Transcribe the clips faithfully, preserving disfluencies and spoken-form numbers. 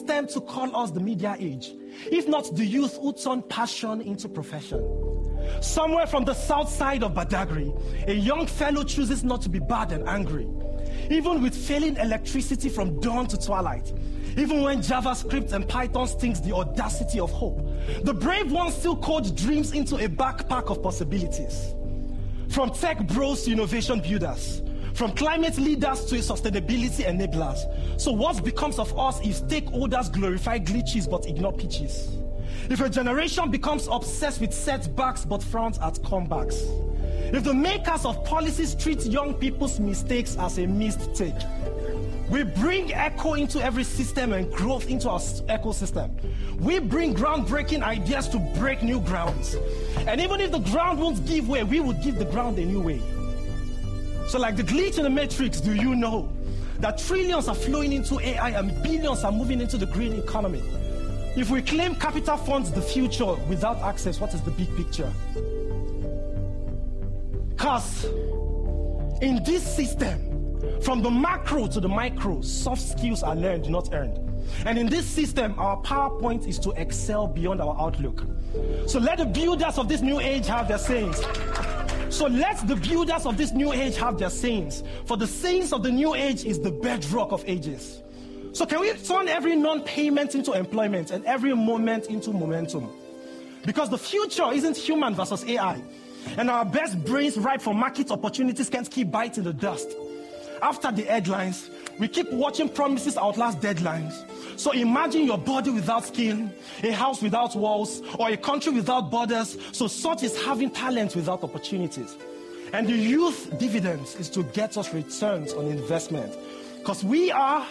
system to call us the media age, if not the youth who turn passion into profession? Somewhere from the south side of Badagry, a young fellow chooses not to be bad and angry. Even with failing electricity from dawn to twilight, even when JavaScript and Python stings the audacity of hope, the brave ones still code dreams into a backpack of possibilities. From tech bros to innovation builders, from climate leaders to sustainability enablers. So what becomes of us if stakeholders glorify glitches but ignore pitches? If a generation becomes obsessed with setbacks but frowns at comebacks? If the makers of policies treat young people's mistakes as a mistake? We bring echo into every system and growth into our ecosystem. We bring groundbreaking ideas to break new grounds. And even if the ground won't give way, we will give the ground a new way. So like the glitch in the matrix, do you know that trillions are flowing into A I and billions are moving into the green economy? If we claim capital funds the future without access, what is the big picture? Because in this system, from the macro to the micro, soft skills are learned, not earned. And in this system, our PowerPoint is to excel beyond our outlook. So let the builders of this new age have their sayings. So let the builders of this new age have their sayings. For the sayings of the new age is the bedrock of ages. So can we turn every non-payment into employment and every moment into momentum? Because the future isn't human versus A I. And our best brains ripe for market opportunities can't keep biting the dust. After the headlines, we keep watching promises outlast deadlines. So imagine your body without skin, a house without walls, or a country without borders. So such is having talent without opportunities. And the youth dividends is to get us returns on investment. Because we are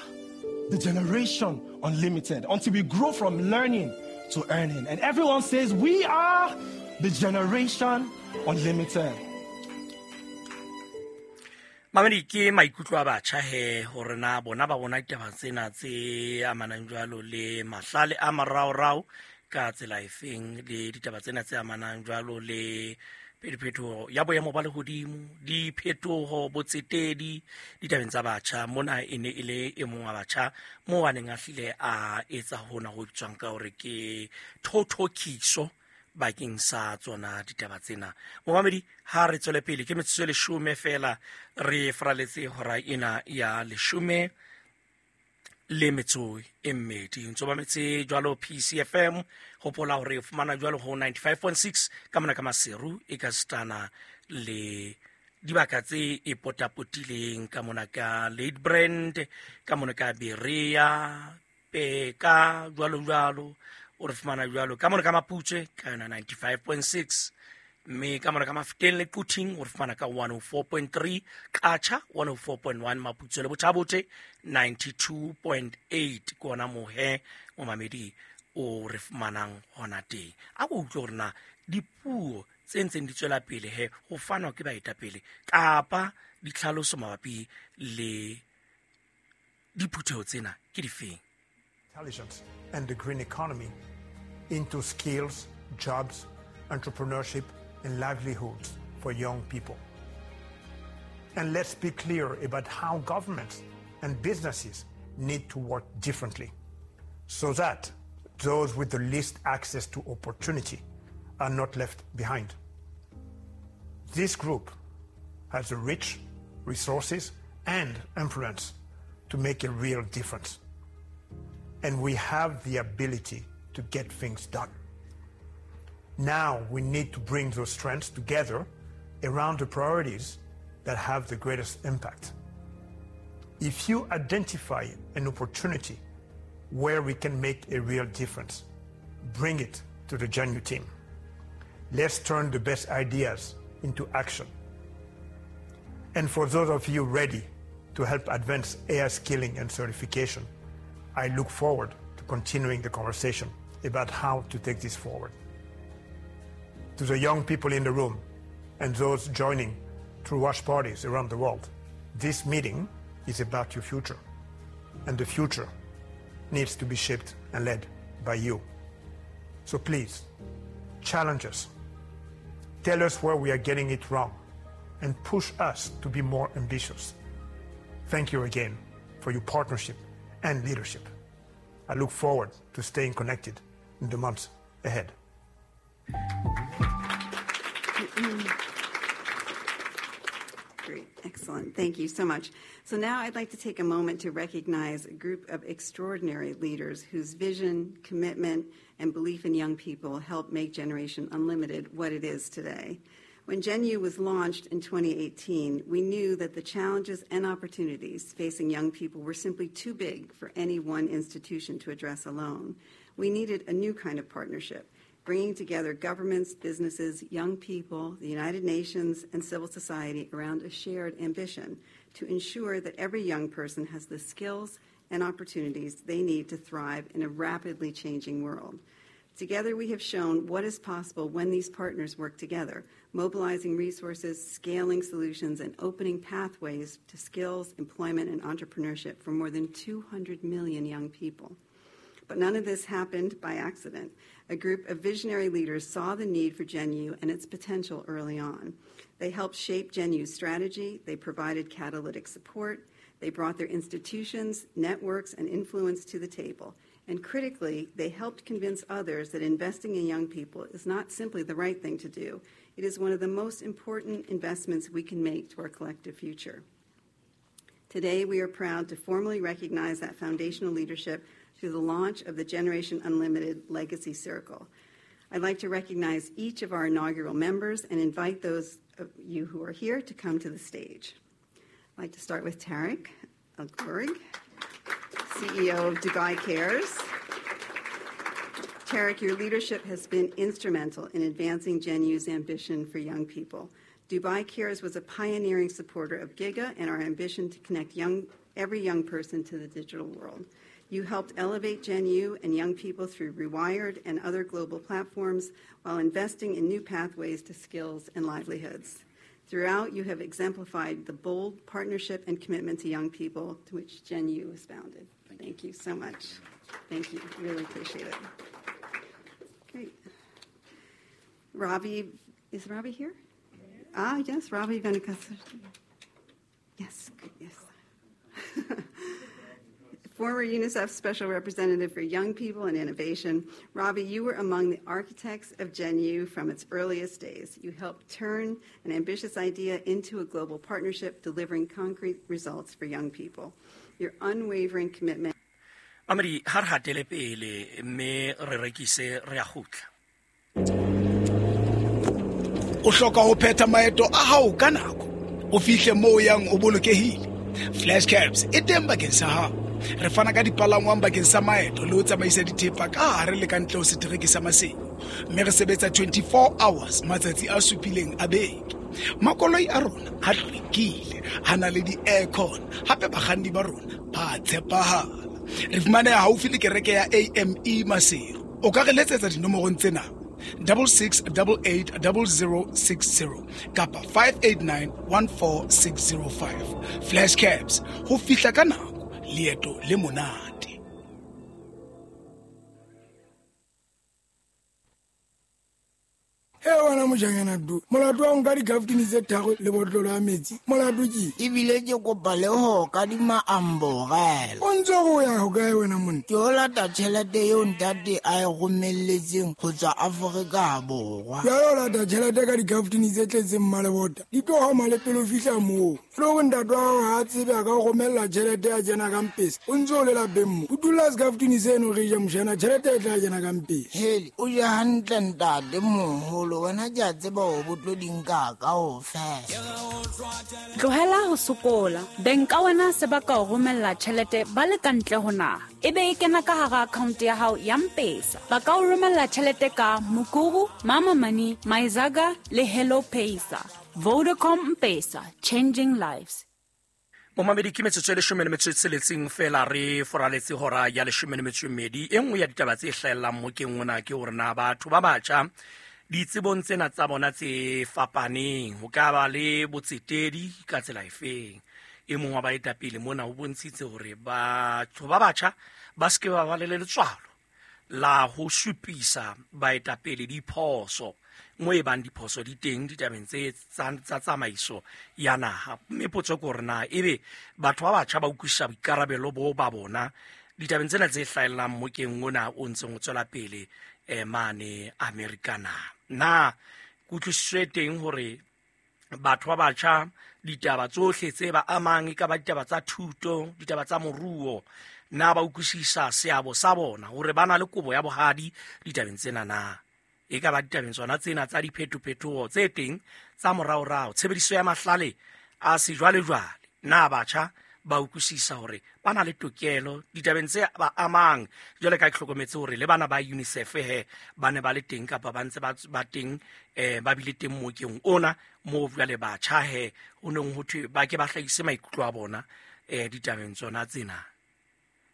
the generation unlimited until we grow from learning to earning. And everyone says we are the generation unlimited. Mamedi ke maikutlo a batjha he hore na bona ba bona ditaba tsena tse amanang jwalo le mahlale a maraorao ka tsela efeng le ditaba tsena tse amanang jwalo le phetoho ya boemo ba lehodimo, diphetoho botsetedi ditabeng tsa batjha. Mona e ne e le e mong wa batjha moo a neng a hlile a etsa hona ho bitswang ka hore ke thothokiso bakeng sa tsona ditaba tsena. Momamedi, ha re tswele pele ke metsotso e leshome fela re fraletse hora ena ya leshome le metso e mmedi. Ntso mametse jwalo P C F M, hopola hore o fumana jwalo ho ninety-five point six ka mona ka Maseru e ka stana le dibaka tse e potapotileng ka mona ka Ladybrand, ka mona ka Berea, Peka, jwalo jwalo. O re fumana jwalo ka mona ka Maputswe ka yona ninety-five point six, mme ka mona ka Mafeteng le Quthing o re fumana ka one oh four point three, Qacha one oh four point one, Maputswe le Bothabote ninety-two point eight. Ke ona mohe momamedi o re fumanang hona teng. A ko utlwe hore na dipuo tse ntseng di tswela pele he ho fanwa ke baetapele kapa ditlhaloso mabapi le diphutheho tsena ke difeng. Intelligence and the green economy into skills, jobs, entrepreneurship, and livelihoods for young people. And let's be clear about how governments and businesses need to work differently so that those with the least access to opportunity are not left behind. This group has the rich resources and influence to make a real difference. And we have the ability to get things done. Now we need to bring those strengths together around the priorities that have the greatest impact. If you identify an opportunity where we can make a real difference, bring it to the GenU team. Let's turn the best ideas into action. And for those of you ready to help advance A I skilling and certification, I look forward to continuing the conversation about how to take this forward. To the young people in the room and those joining through watch parties around the world, this meeting is about your future, and the future needs to be shaped and led by you. So please, challenge us. Tell us where we are getting it wrong and push us to be more ambitious. Thank you again for your partnership and leadership. I look forward to staying connected in the months ahead. Great, excellent. Thank you so much. So now I'd like to take a moment to recognize a group of extraordinary leaders whose vision, commitment, and belief in young people helped make Generation Unlimited what it is today. When GenU was launched in twenty eighteen, we knew that the challenges and opportunities facing young people were simply too big for any one institution to address alone. We needed a new kind of partnership, bringing together governments, businesses, young people, the United Nations, and civil society around a shared ambition to ensure that every young person has the skills and opportunities they need to thrive in a rapidly changing world. Together, we have shown what is possible when these partners work together, mobilizing resources, scaling solutions, and opening pathways to skills, employment, and entrepreneurship for more than two hundred million young people. But none of this happened by accident. A group of visionary leaders saw the need for GenU and its potential early on. They helped shape GenU's strategy. They provided catalytic support. They brought their institutions, networks, and influence to the table. And critically, they helped convince others that investing in young people is not simply the right thing to do. It is one of the most important investments we can make to our collective future. Today, we are proud to formally recognize that foundational leadership through the launch of the Generation Unlimited Legacy Circle. I'd like to recognize each of our inaugural members and invite those of you who are here to come to the stage. I'd like to start with Tarek El Ghorig, C E O of Dubai Cares. Tarek, your leadership has been instrumental in advancing GenU's ambition for young people. Dubai Cares was a pioneering supporter of Giga and our ambition to connect young, every young person to the digital world. You helped elevate GenU and young people through Rewired and other global platforms while investing in new pathways to skills and livelihoods. Throughout, you have exemplified the bold partnership and commitment to young people to which GenU was founded. Thank, Thank you. you so much. Thank you. Really appreciate it. Great. Ravi, is Ravi here? Ah, yes, Ravi Venkatesan. Yes, yes. Former UNICEF Special Representative for Young People and Innovation, Ravi, you were among the architects of GenU from its earliest days. You helped turn an ambitious idea into a global partnership, delivering concrete results for young people. Your unwavering commitment. Amri, har hatele pele mme re rekise re a kgutla. O hloka ho phetha maeto a hao ka nako. O fihle moo yang o bolokehile. Flash Cabs e teng bakeng sa hao. Re fana ka dipalangwang bakeng sa maeto le ho tsamaisa dithepa ka hare le ka ntle ho setereke sa Maseru. Mme re sebetsa twenty-four hours matsatsi a supileng a beke. Makoloi a rona a hlwekile, a na le di-aircon, hape bakganni ba rona ba tshepahala. Re fumaneha haufi le kereke ya A M E Maseru. O ka re letsetsa dinomorong tsena: double six double eight double zero six zero kapa five eight nine one four six zero five. Flash Cabs, ho fihla ka nako, leeto le monate. He wena mojanyana du molato wa nka dikaftini tse tharo le botlolo ya metsi molato ke ebile ke kopa le ho kadima amborela o ntse go ya ho kae wena monna ke o lata tjhelete eo ntate a e romelletseng ho tswa Afrika Borwa jwale o lata tjhelete ka dikaftini tse tletseng mmalebota di tlo hama le pele o fihla moo e le hore ntate wa hao ha a tsebe a ka o romella tjhelete ya kena ka mpesa o ntse o le lapeng mo o dula sekaftini seno re ja mojana tjhelete e tla kena ka mpesa hele o je hantle ntate moholo wena ke a tseba hore bo tlo di nka kaofela. Tlohela ho sokola. Beng ka wena se ba ka o romella tjhelete ba le ka ntle ho naha. Ebe e kena ka hara account ya hao ya M-Pesa. Ba ka o romella tjhelete ka Mukuru, Mama Money, Myzaga le Hello Pesa. Vodacom M-Pesa, changing lives. Momamedi ke metsotso e leshome le metso e tsheletseng fela re foraletse hora ya leshome le metso e mmedi. E nngwe ya ditaba tse hlahellang mo keng ona ke hore na batho ba batjha ditsebong tsena tsa bona tse fapaneng ho ka ba le botsetedi ka tsela efeng. E mong wa baetapele mona o bontshitse hore batho ba batjha ba se ke ba ba le letswalo la ho supisa baetapele diphoso mo e bang diphoso di teng ditabeng tse tsa tsamaiso ya naha. Mme potso ke hore na ebe batho ba batjha ba utlwisisa boikarabelo bo ba bona ditabeng tsena tse hlahellang mokeng ona o ntseng o tswela pele eh, mane Amerika na. Na kutlwisiso e teng hore batho ba batjha ditaba tsohle tse ba amang, e ka ba ditaba tsa thuto, ditaba tsa moruo, na ba utlwisisa seabo sa bona hore ba na le kobo ya bohadi ditabeng tsena na? E ka ba ditabeng tsona tsena tsa diphetophetoho tse teng tsa moraorao, tshebediso ya mahlale a sejwalejwale, na batjha ba utlwisisa hore ba na le tokelo ditabeng tse ba amang? Jwale ka ke hlokometse hore le bana ba UNICEF he ba ne ba le teng kapa ba ntse ba ba teng, eh, ba bile teng mokeng ona moo jwale batjha he ho neng ho thwe ba ke ba hlahise maikutlo a bona eh, ditabeng tsona tsena.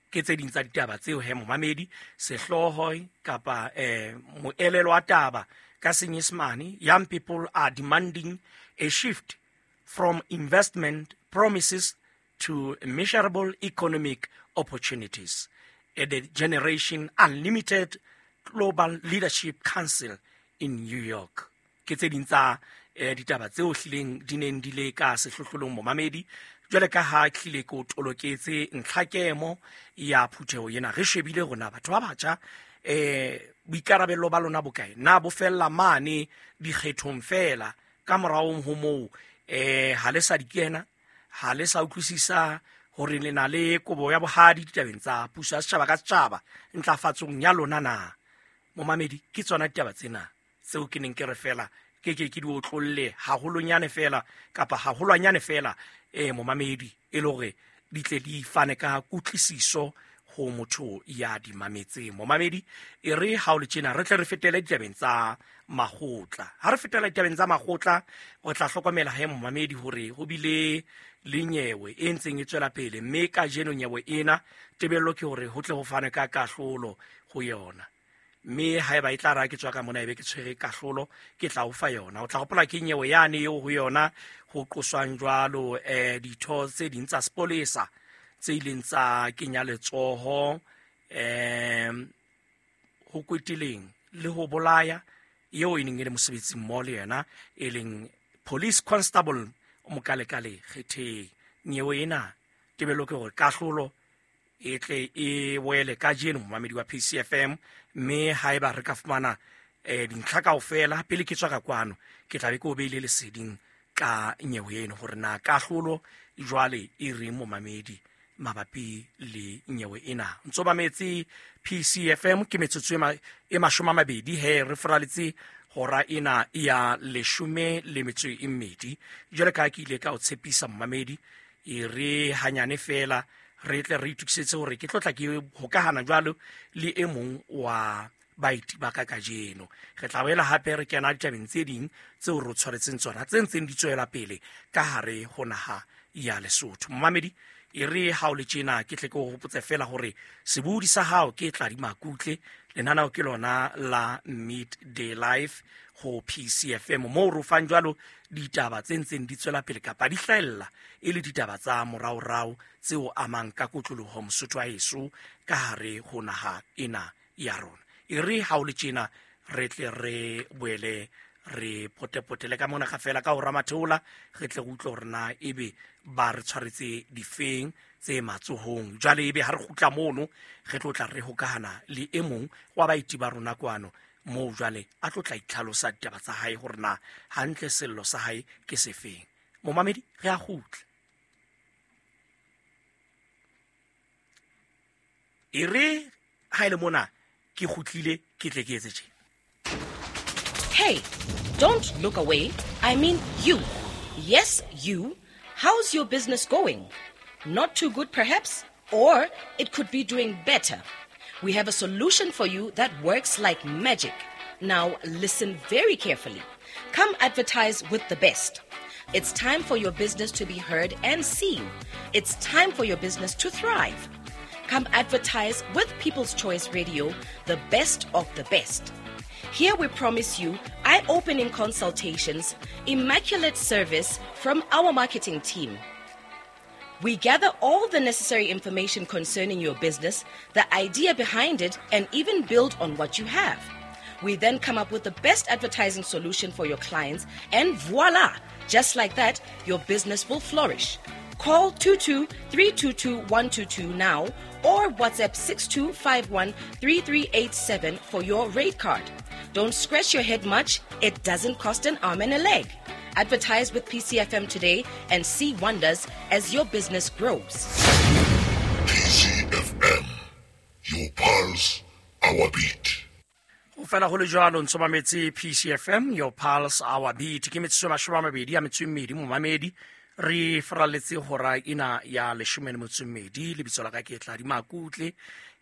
Ke tse ding tsa ditaba tseo he momamedi, sehlooho kapa eh, moelelo wa taba ka Senyesemane, young people are demanding a shift from investment promises to measurable economic opportunities at the Generation Unlimited Global Leadership Council in New York. Ke tse ding tsa eh, ditaba tseo hlileng di neng di le ka sehlohlolong momamedi. Jwale ka ha hlile ke o toloketse ntlhakemo ya phutheho ena, re shebile rona batho ba batjha eh, boikarabello ba lona bokae? Na bo fella mane dikgethong fela, ka morao ho moo eh, ha le sa di kena, ha le sa utlwisisa hore le na le kobo ya bohadi ditabeng tsa puso ya setjhaba ka setjhaba ntlafatsong ya lona na? Momamedi, ke tsona ditaba tsena tseo ke neng ke re fela ke ke ke di otlolle haholonyane fela kapa haholwanyane fela eh, momamedi, e le hore di tle di fane ka kutlwisiso ho motho ya di mametseng. Momamedi, e re ha o le tjena re tle re fetele ditabeng tsa makgotla. Ha re fetela ditabeng tsa makgotla, o tla hlokomela he momamedi hore ho bile le nyewe e ntseng e tswela pele, mme kajeno nyewe ena tebello ke hore ho tle ho fane ka kahlolo ho yona. Mme haeba e tla ra ke tswa ka mona ebe ke tshwere kahlolo, ke tla o fa yona. O tla hopola ke nyewe yane eo ho yona ho qoswang jwalo eh, ditho tse ding tsa sepolesa tse ileng tsa kenya letsoho eh, ho kweteleng le ho bolaya eo e neng e le mosebetsi mmoho le yena, e leng police constable Mokalekale Kgetheng. Nyewe ena tebello ke hore kahlolo e tle e wele kajeno momamedi wa P C F M, mme haeba re ka fumana eh, dintlha kaofela pele ke tswa ka kwano, ke tla be ke o beile leseding ka nyewe eno hore na kahlolo jwale e reng momamedi mabapi le nyewe ena. Ntso mametse P C F M ke metsotso e mashome a mabedi he re foraletse hora ena ya leshome le metso e mmedi. Jwale ka ke ile ka o tshepisa momamedi, e re hanyane fela re tle re itokisetse hore ke tlotla ke hokahana jwalo le e mong wa baeti ba ka kajeno. Re tla boela hape re kena ditabeng tse ding tseo re tshwaretseng tsona tse ntseng di tswela pele ka hare ho naha ya Lesotho. Momamedi, e re ha o le tjena ke tle ke o hopotse fela hore sebodi sa hao ke Tladi Makutle, lenaneo ke lona la Midday Life ho P C F M, moo re fang jwalo ditaba tse ntseng di tswela pele kapa di hlahella e le ditaba tsa moraorao tseo amang ka kotloloho Mosotho wa heso ka hare ho naha ena ya rona. E re ha o le tjena re tle re boele re potepotele ka mona ka fela ka ho ramatheola, re tle re utlwe hore na ebe ba re tshwaretse difeng tse matsohong. Jwale ebe ha re kgutla mono re tlo tla re hokahana le e mong wa baeti ba rona kwano moo jwale a tlo tla itlhalosa ditaba tsa hae hore na hantle sello sa hae ke sefeng. Momamedi, re a kgutla. E re ha ile mona ke kgutlile ke tle ke etse tje. Hey, don't look away. I mean you. Yes, you. How's your business going? Not too good, perhaps? Or it could be doing better. We have a solution for you that works like magic. Now, listen very carefully. Come advertise with the best. It's time for your business to be heard and seen. It's time for your business to thrive. Come advertise with People's Choice Radio, the best of the best. Here we promise you eye-opening consultations, immaculate service from our marketing team. We gather all the necessary information concerning your business, the idea behind it, and even build on what you have. We then come up with the best advertising solution for your clients, and voila! Just like that, your business will flourish. Call two two three two two one two two now or WhatsApp six two five one three three eight seven for your rate card. Don't scratch your head much. It doesn't cost an arm and a leg. Advertise with P C F M today and see wonders as your business grows. P C F M, your pulse, our beat. Ho fela ho le jwalo ntso mametse P C F M, your pulse, our beat. Ke metsotso e mashome a mabedi a metso e mmedi momamedi. Re faralletse hora ena ya leshome le metso e mmedi. Lebitso la ka ke Tladi Makutle.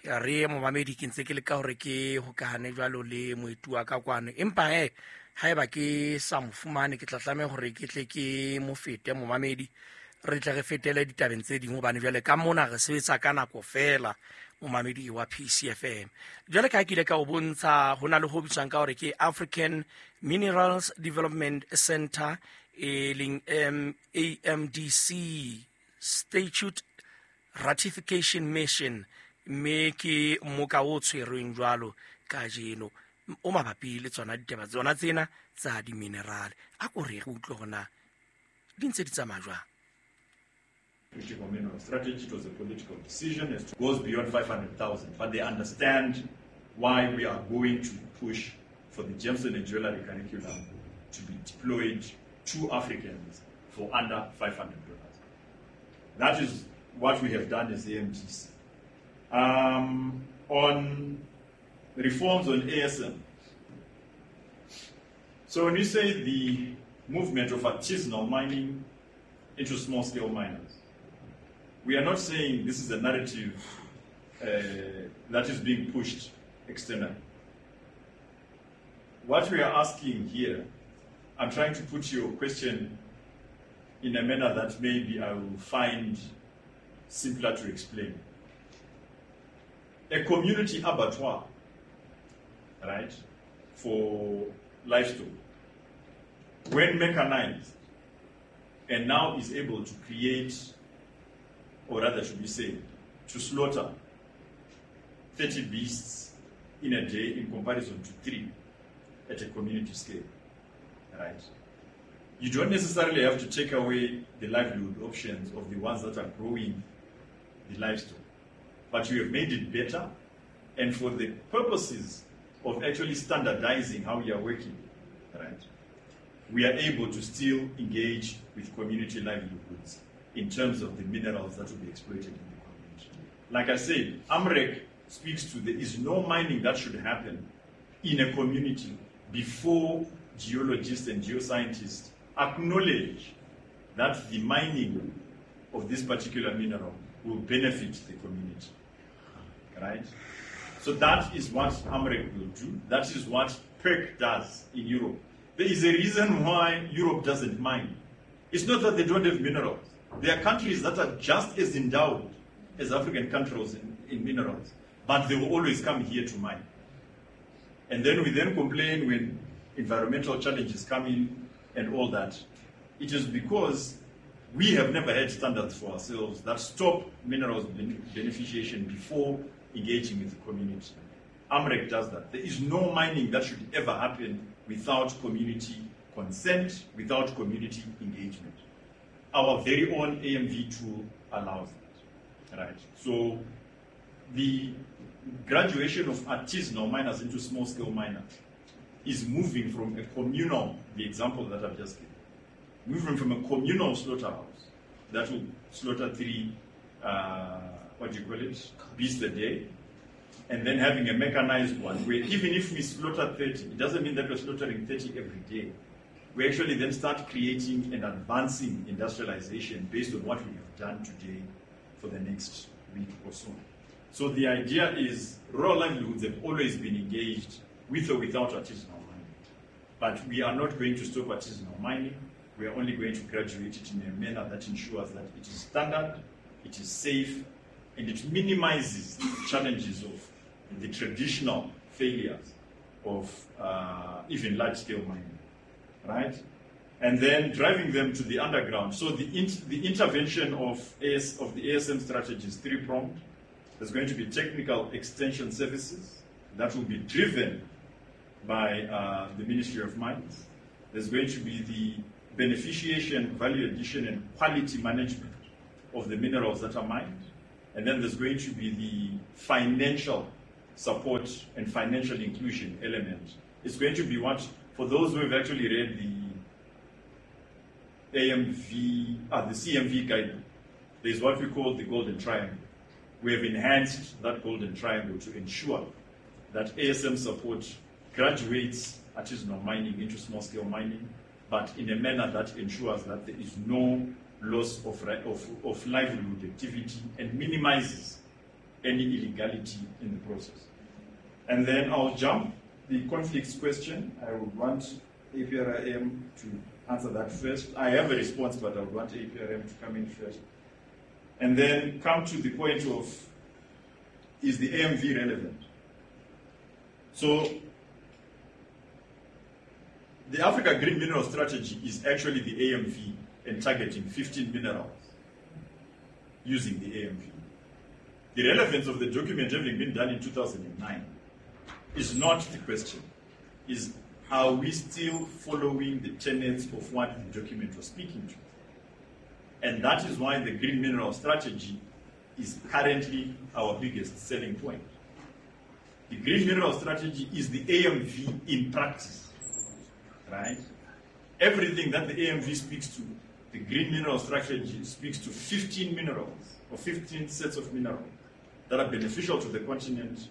Re momamedi ke ntse ke leka hore ke hokahane jwalo le moeti wa ka kwano, empa he haeba ke sa mo fumane ke tla tlameha hore ke tle ke mo fete momamedi, re tle re fetele ditabeng tse ding hobane jwale ka mona re sebetsa ka nako fela momamedi wa P C F M. Jwale ka ke ile ka o bontsha ho na le ho bitswang ka hore ke African Minerals Development Center e leng M A M D C Statute Ratification Mission, mme ke moka o tshwerweng jwalo kajeno o mabapi le tsona ditaba tsona tsena tsa di-mineral. A ko re re utlwe hore na di ntse di tsamaya jwang. Critical mineral strategy, it was a political decision. It goes beyond five hundred thousand, but they understand why we are going to push for the gemstone and jewelry curriculum to be deployed to Africans for under five hundred dollars. That is what we have done as A M D C. Um, on reforms on A S M. So when you say the movement of artisanal mining into small-scale miners, we are not saying this is a narrative uh, that is being pushed externally. What we are asking here, I'm trying to put your question in a manner that maybe I will find simpler to explain. A community abattoir, right, for livestock, when mechanized and now is able to create, or rather should we say, to slaughter thirty beasts in a day in comparison to three at a community scale, right? You don't necessarily have to take away the livelihood options of the ones that are growing the livestock, but you have made it better, and for the purposes of actually standardizing how we are working, right, we are able to still engage with community livelihoods in terms of the minerals that will be exploited in the community. Like I said, AMREC speaks to there is no mining that should happen in a community before geologists and geoscientists acknowledge that the mining of this particular mineral will benefit the community, right? So that is what AMREC will do. That is what P E R C does in Europe. There is a reason why Europe doesn't mine. It's not that they don't have minerals. There are countries that are just as endowed as African countries in, in minerals, but they will always come here to mine. And then we then complain when environmental challenges come in and all that. It is because we have never had standards for ourselves that stop minerals beneficiation before engaging with the community. AMREC does that. There is no mining that should ever happen without community consent, without community engagement. Our very own A M V tool allows that, right? So the graduation of artisanal miners into small-scale miners is moving from a communal, the example that I've just given, moving from a communal slaughterhouse that will slaughter three, uh, what do you call it, beasts a day, and then having a mechanized one where even if we slaughter thirty, it doesn't mean that we're slaughtering thirty every day. We actually then start creating and advancing industrialization based on what we have done today for the next week or so. So the idea is rural livelihoods have always been engaged with or without artisanal mining. But we are not going to stop artisanal mining. We are only going to graduate it in a manner that ensures that it is standard, it is safe, and it minimizes the challenges of the traditional failures of uh, even large-scale mining, right? And then driving them to the underground. So the, in- the intervention of, A S, of the A S M strategy is three-pronged. There's going to be technical extension services that will be driven by uh, the Ministry of Mines. There's going to be the beneficiation, value addition, and quality management of the minerals that are mined. And then there's going to be the financial support and financial inclusion element. It's going to be what, for those who have actually read the A M V, uh, the C M V guidebook, there's what we call the golden triangle. We have enhanced that golden triangle to ensure that A S M support graduates artisanal mining into small-scale mining, but in a manner that ensures that there is no loss of, of, of livelihood activity and minimizes any illegality in the process. And then I'll jump the conflicts question. I would want A P R I M to answer that first. I have a response, but I would want A P R I M to come in first. And then come to the point of, is the A M V relevant? So the Africa Green Mineral Strategy is actually the A M V and targeting fifteen minerals using the A M V. The relevance of the document having been done in two thousand nine is not the question. Is, are we still following the tenets of what the document was speaking to? And that is why the Green Mineral Strategy is currently our biggest selling point. The Green Mineral Strategy is the A M V in practice, right? Everything that the A M V speaks to, the Green Mineral Strategy speaks to fifteen minerals or fifteen sets of minerals that are beneficial to the continent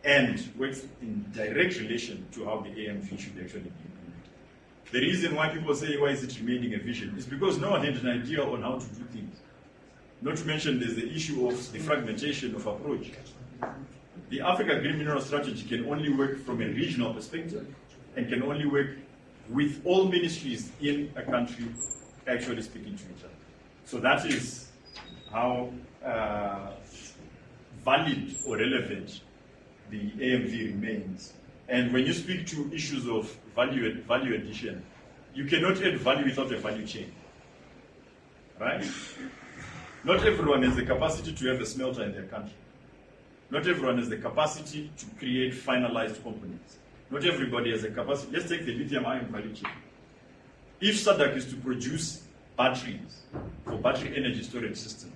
and works in direct relation to how the A M V should actually be implemented. The reason why people say, why is it remaining a vision, is because no one had an idea on how to do things. Not to mention there's the issue of the fragmentation of approach. The Africa Green Mineral Strategy can only work from a regional perspective and can only work with all ministries in a country actually speaking to each other. So that is how uh, valid or relevant the A M V remains. And when you speak to issues of value, value addition, you cannot add value without a value chain, right? Not everyone has the capacity to have a smelter in their country. Not everyone has the capacity to create finalized components. Not everybody has the capacity. Let's take the lithium ion value chain. If S A D C is to produce batteries for battery energy storage system,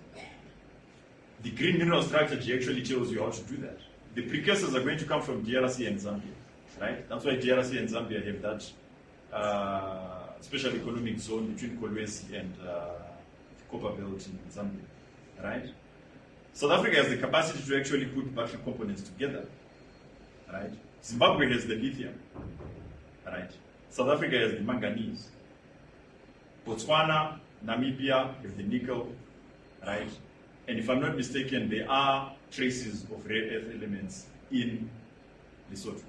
the Green Mineral Strategy actually tells you how to do that. The precursors are going to come from D R C and Zambia, right? That's why D R C and Zambia have that uh, special economic zone between Kolwezi and uh, Copper Belt in Zambia, right? South Africa has the capacity to actually put battery components together, right? Zimbabwe has the lithium, right? South Africa has the manganese. Botswana, Namibia have the nickel, right? And if I'm not mistaken, there are traces of rare earth elements in Lesotho.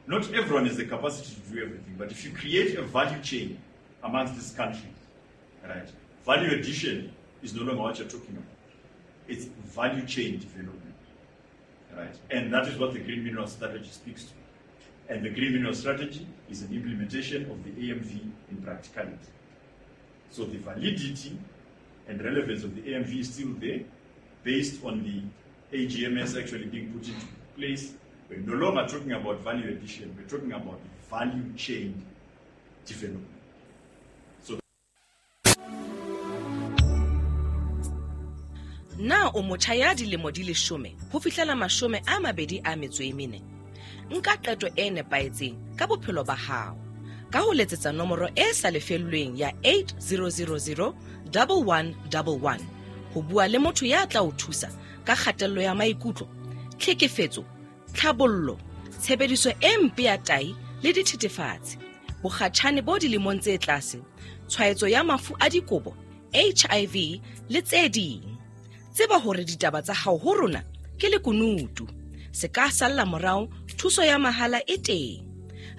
Not everyone has the capacity to do everything, but if you create a value chain amongst these countries, right, value addition is no longer what you're talking about. It's value chain development, right? And that is what the Green Mineral Strategy speaks to. And the Green Mineral Strategy is an implementation of the A M V in practicality. So the validity and relevance of the A M V is still there, based on the A G M S actually being put into place. We're no longer talking about value addition, we're talking about value chain development. So Na o motjha ya dilemo di leshome ho fihlela mashome a mabedi a metso e mene. Nka qeto e nepahetseng ka bophelo ba hao ka ho letsetsa nomoro e sa lefellweng ya eight zero zero zero one one one one ho bua le motho ya tla o thusa ka kgatello ya maikutlo, tlhekefetso, tlhabollo, tshebediso e mpe ya tai le dithethefatsi, bokgatjhane bo dilemong tse tlase, tshwaetso ya mafu a dikobo, H I V le tse ding. Tseba hore ditaba tsa hao ho rona ke lekunutu. Se ka salla morao, thuso ya mahala e teng.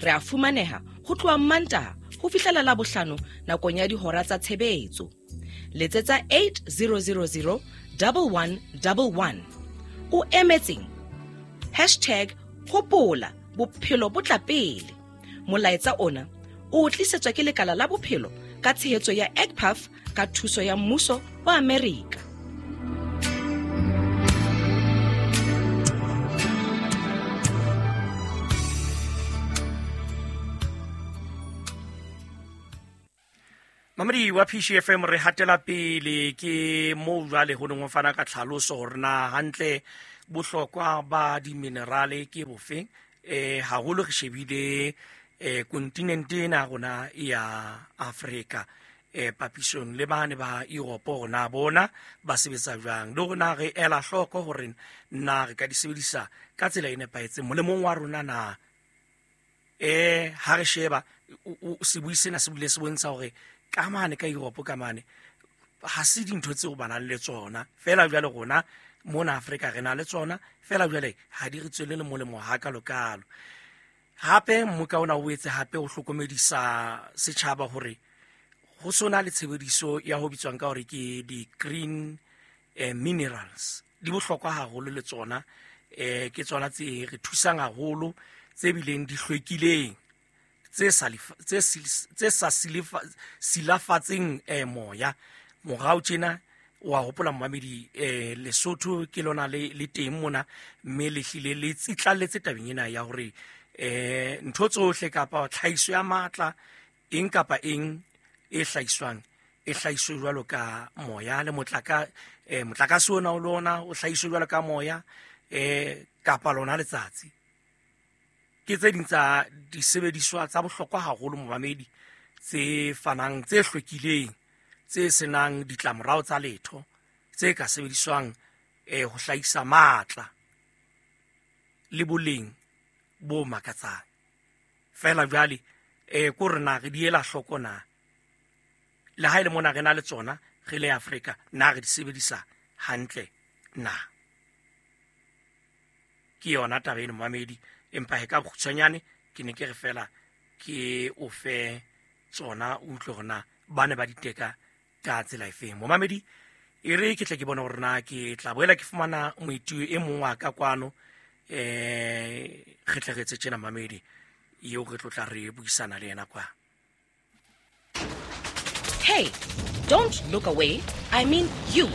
Re a fumaneha ho tloha Mantaha ho fihlela Labohlano nakong ya dihora tsa tshebetso. Letsetsa eight zero zero zero one one one one. O emetseng? Hashtag hopola bophelo bo tla pele. Molaetsa ona o tlisetswa ke lekala la bophelo ka tshehetso ya E C P A F ka thuso ya mmuso wa Amerika. Mamedi wa P C F M re hatela pele ke moo jwale ho neng ho fana ka tlhaloso hore na hantle bohlokwa ba diminerale ke bofe eh haholo re shebile eh kontinente ena rona ya Afrika eh papisong le bane ba Europe rona bona ba sebetsa jwang le rona re ela hloko hore na re ka di sebedisa ka tsela e nepahetseng molemong wa rona na eh ha re sheba sebui sena se bile se bontsha hore ka mane ka Europe ka mane ha se dintho tseo ba nang le tsona fela jwale rona mona Afrika re na le tsona fela jwale ha di re tswele le molemo ha ka lokalo. Hape mmoka ona o etse hape o hlokomedisa setjhaba hore ho sona le tshebediso ya ho bitswang ka hore ke di green eh, minerals di bohlokwa haholo le tsona eh ke tsona tse re thusang haholo tse bileng di hlwekileng tse sa tse tse sa silafatseng eh moya. Morao tjena wa hopola momamedi eh Lesotho ke lona le le teng mona mme le hlile le tsitlalletse tabeng ena ya hore eh ntho tsohle kapa tlhahiso ya matla eng kapa eng e hlahiswang e hlahiswe jwalo ka moya le motlaka eh motlakase ona o lona o hlahiswe jwalo ka moya eh kapa lona letsatsi. Ke tse ding tsa disebediswa tsa bohlokwa haholo momamedi tse fanang tse hlwekileng tse senang ditlamorao tsa letho tse ka sebediswang eh ho hlahisa matla le boleng bo makatsang. Fela jwale eh ko rena re di ela hloko na le ha ile mona re na le tsona re le Afrika na re di sebedisa hantle na. Ke yona taba eno momamedi empa he ka bokgutshwanyane ke ne ke re fela ke o fe tsona o utlwe hore na ba ne ba di teka ka tsela efeng. Momamedi e re ke tle ke bone hore na ke tla boela ke fumana moitui e mong wa ka kwano eh re tle re etse tjena momamedi eo re tlo tla re buisana le yena kwa. Hey, don't look away. I mean you.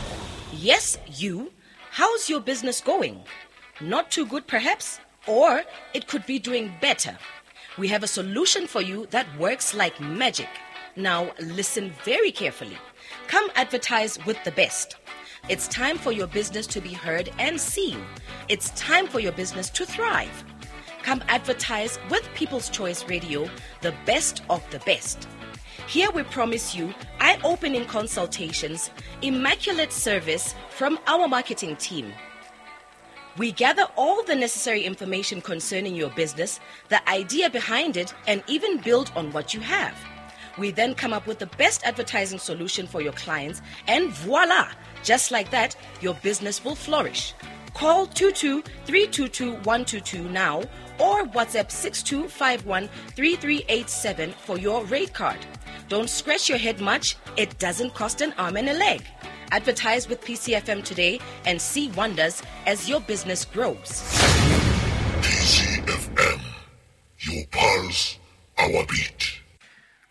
Yes, you. How's your business going? Not too good perhaps? Or it could be doing better. We have a solution for you that works like magic. Now listen very carefully. Come advertise with the best. It's time for your business to be heard and seen. It's time for your business to thrive. Come advertise with People's Choice Radio, the best of the best. Here we promise you eye-opening consultations, immaculate service from our marketing team. We gather all the necessary information concerning your business, the idea behind it, and even build on what you have. We then come up with the best advertising solution for your clients, and voila! Just like that, your business will flourish. Call two two three two two one two two now or WhatsApp six two five one three three eight seven for your rate card. Don't scratch your head much. It doesn't cost an arm and a leg. Advertise with P C F M today and see wonders as your business grows. P C F M, your pulse, our beat.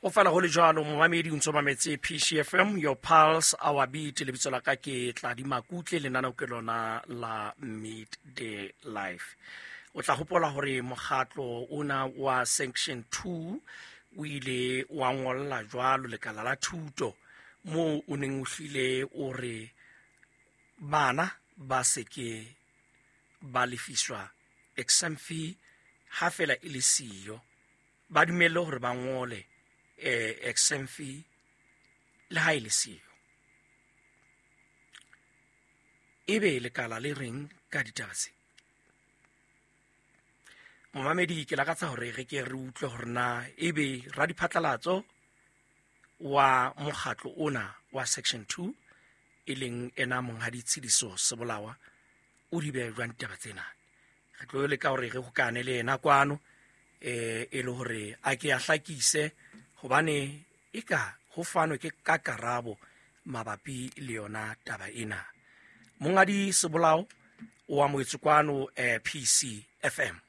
O fela ho le jwalo momamedi o ntso mametse P C F M, your pulse, our beat. Lebitso la ka ke Tladi Makutle, lenaneo ke lona la Midday Life. O tla hopola hore mokgatlo ona wa Section two o ile wa ngolla jwalo lekala la thuto moo o neng o hlile o re bana ba seke ba lefiswa exam fee ha fela e le siyo, ba dumelle hore ba ngole eh exam fee le ha e le siyo. Ebe lekala le reng ka ditaba tse? Momamedi ke lakatsa hore re ke re utlwe hore na ebe radiphatlalatso wa mokgatlo ona wa Section two e leng ena monghadi Tshidiso Sebolawa o di beha jwang ditaba tsena. Re tlo leka hore re hokane le yena kwano eh e le hore a ke a hlakise hobane eka ho fanwe ke ka karabo mabapi le yona taba ena. Monghadi Sebolao o amohetswe kwano eh, P C F M.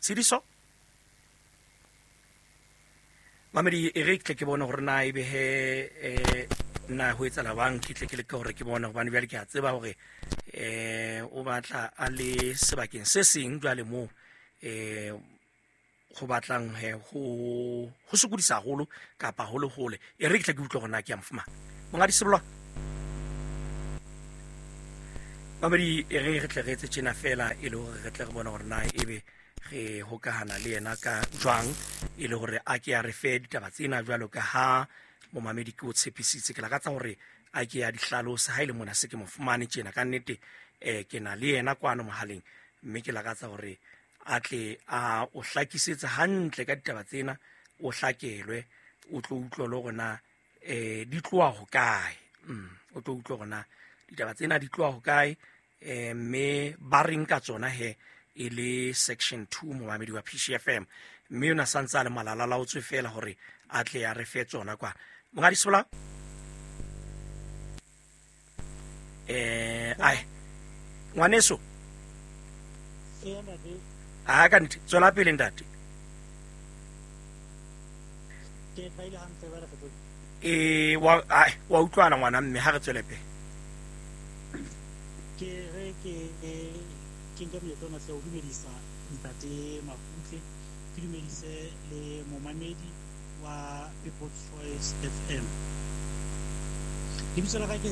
Tshidiso Mamedi e re tle ke bone hore na ebe he eh na ho etsahala bang ke tle ke leke hore ke bone hobane jwale ke a tseba hore eh o batla a le sebakeng se seng jwale moo eh ho batlang he ho ho sokodisa haholo kapa hole hole. E re ke tle ke utlwe hore na ke a mo fumana. Monghadi Sebolao, mamedi, e re re tle re etse tjena fela e le hore re tle re bone hore na ebe re hokahana le yena ka jwang, e le hore a ke a re fe ditaba tsena jwalo ka ha momamedi ke o tshepisitse. Ke lakatsa hore a ke a di hlalosa ha ile mona se ke mo fumane tjena ka nnete. Eh ke na le yena kwano mohaleng, mme ke lakatsa hore a tle a o hlakisetse hantle ka ditaba tsena, o hlakelwe, o tlo utlwe le hore na eh di tloha hokae. Mm o tlo utlwe hore na ditaba tsena di tloha hokae, eh mme ba reng ka tsona he e le section two momamedi wa P C F M. Mme yona santse a le malala o tswe fela hore a tle a re fe tsona kwa. Monghadi Sebolao, eh ai ngwaneso, a ka ntse tswela pele ntate. E wa ai wa utlwana ngwana mme ha re tswele pele. Ke re ke ke nke monyetla ona hle ho dumedisa ntate Makutle, ke dumedise le momamedi wa People's Choice F M. Lebitso la ka ke